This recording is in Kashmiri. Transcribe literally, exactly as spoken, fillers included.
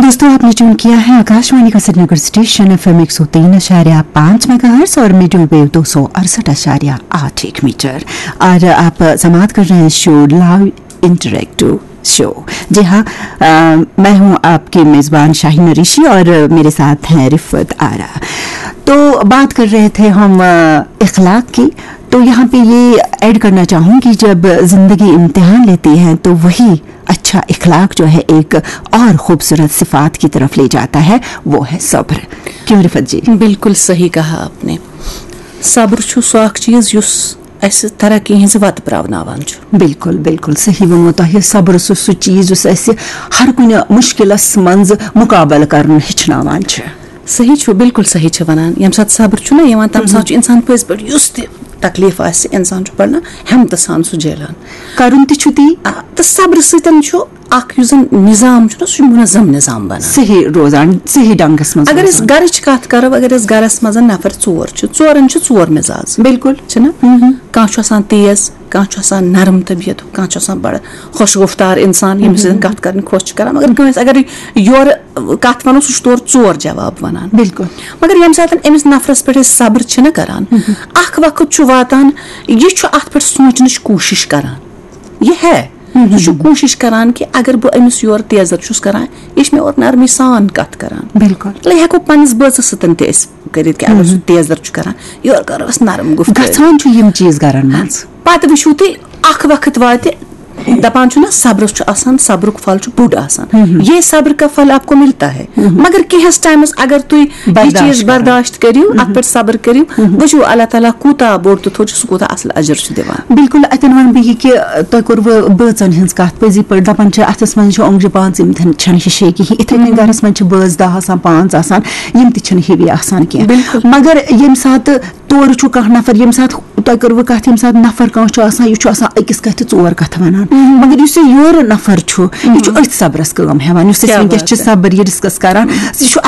दोस्तों, आपने ट्यून किया है आकाशवाणी का श्रीनगर स्टेशन एफ एम एक सौ तीन अशारिया पाँच मेगाहर्ट्ज और मीडियम वेव दो सौ अड़सठ अशारिया आठ एक मीटर। और आप समाप्त कर रहे हैं शो लाइव इंटरेक्टिव शो। जी हाँ, अ, मैं हूँ आपकी मेज़बान शाहीन नरीशी और मेरे साथ हैं रिफत आरा। तो बात कर रहे थे हम, अ, इखलाक की। तो यहाँ पे ये ऐड करना चाहूँगी, जब ज़िंदगी इम्तिहान लेती है तो वही अच्छा इखलाक जो है, एक और खूबसूरत सिफात की तरफ ले जाता है, वो है सब्र। क्यों रिफत जी? बिल्कुल सही कहा आपने। सब्र چھُ سُہ اکھ چیٖز یُس اَسہِ ترقی ہٕنٛزِ وَتہٕ پرٛاوناوان چھُ۔ بِلکُل، بِلکُل صحیح ووٚنمُت تۄہہِ۔ صبر چھُ سُہ چیٖز یُس اَسہِ ہر کُنہِ مُشکِلَس منٛز مُقابلہٕ کَرُن ہیٚچھناوان چھُ۔ صحیح چھُ، بِلکُل صحیح چھِ وَنان۔ ییٚمہِ ساتہٕ صبر چھُنہ یِوان، تَمہِ ساتہٕ چھُ اِنسان پٔزۍ پٲٹھۍ یُس تہِ تکلیٖف آسہِ، اِنسان چھُ بَڑٕ ہٮ۪متہٕ سان سُہ جیلان۔ کَرُن تہِ چھُ تی۔ آ، تہٕ صبرٕ سۭتۍ چھُ اَکھ یُس زَن نِظام چھُنہ، سُہ چھُ مُنظم نِظام بَنان۔ صحیح روزان، صحیح ڈنٛگَس منٛز اگر أسۍ روزان۔ گَرٕچ کَتھ کَرو، اگر أسۍ گَرَس منٛز نَفر ژور چھِ، ژورَن چھِ ژور مِزاز۔ بِلکُل۔ چھِنہ؟ کانٛہہ چھُ آسان تیز، کانٛہہ چھُ آسان نرم طبیعتُک، کانٛہہ چھُ آسان بَڑٕ خۄش گُفتار اِنسان، ییٚمِس سۭتۍ کَتھ کَرٕنۍ خۄش چھِ کَران۔ مگر کٲنٛسہِ اگر یورٕ کَتھ وَنو، سُہ چھُ تورٕ ژور جواب وَنان۔ بِلکُل۔ مگر ییٚمہِ ساتہٕ أمِس نفرَس پٮ۪ٹھ أسۍ صبر چھِنہ کَران، اَکھ وقت چھُ واتان، یہِ چھُ اَتھ پٮ۪ٹھ سونٛچنٕچ کوٗشِش کَران۔ یہِ ہے، سُہ چھُ کوٗشِش کَران کہِ اگر بہٕ أمِس یورٕ تیزر چھُس کَران، یہِ چھِ مےٚ اورٕ نرمی سان کَتھ کَران۔ بِلکُل۔ لے ہٮ۪کو پننِس بٲژَس سۭتۍ تہِ أسۍ کٔرِتھ کہِ اگر سُہ تیزر چھُ کَران، یورٕ کَرو أسۍ نرم گُفتٲری۔ گژھان چھُ یِم چیٖز گَرَن منٛز۔ پَتہٕ وٕچھِو تُہۍ، اَکھ وقت واتہِ، دَپان چھُنہ، صبرَس چھُ آسان، صبرُک پھل چھُ بوٚڑ آسان۔ یہ صبر کا پھل آپ کو ملتا ہے۔ مگر کینٛہَس ٹایمَس اگر تُہۍ یہِ برداشت چیٖز کَرو۔ برداشت کٔرِو، اَتھ پٮ۪ٹھ صبر کٔرِو، وٕچھِو اللہ تعالیٰ کوٗتاہ بوٚڑ تہٕ تھوٚد چھُ، سُہ کوٗتاہ اَصٕل اجر چھُ دِوان۔ بِلکُل، اَتٮ۪ن وَنہٕ بہٕ یہِ کہِ تۄہہِ کوٚروٕ بٲژَن ہٕنٛز کَتھ۔ پٔزی پٲٹھۍ دَپان چھِ، اَتھَس منٛز چھِ اونٛگجہِ پانٛژھ، یِم تھن-، چھَنہٕ ہِشے کِہیٖنۍ۔ یِتھَے کٔنۍ گَرَس منٛز چھِ بٲژ دَہ آسان، پانٛژھ آسان، یِم تہِ چھِنہٕ ہِوی آسان کینٛہہ۔ بِلکُل۔ مگر ییٚمہِ ساتہٕ تورٕ چھُ کانٛہہ نفر، ییٚمہِ ساتہٕ تۄہہِ کٔروٕ کَتھ، ییٚمہِ ساتہٕ نفر کانٛہہ چھُ آسان، یہِ چھُ آسان أکِس کَتھِ ژور کَتھٕ وَنان۔ مگر یُس یہِ یورٕ نفر چھُ، یہِ چھُ أتھۍ صبرَس کٲم ہٮ۪وان، یُس أسۍ کیٛاہ وٕنکیٚس بات چھِ ہے۔ صبر یہِ ڈِسکَس کَران، یہِ چھُ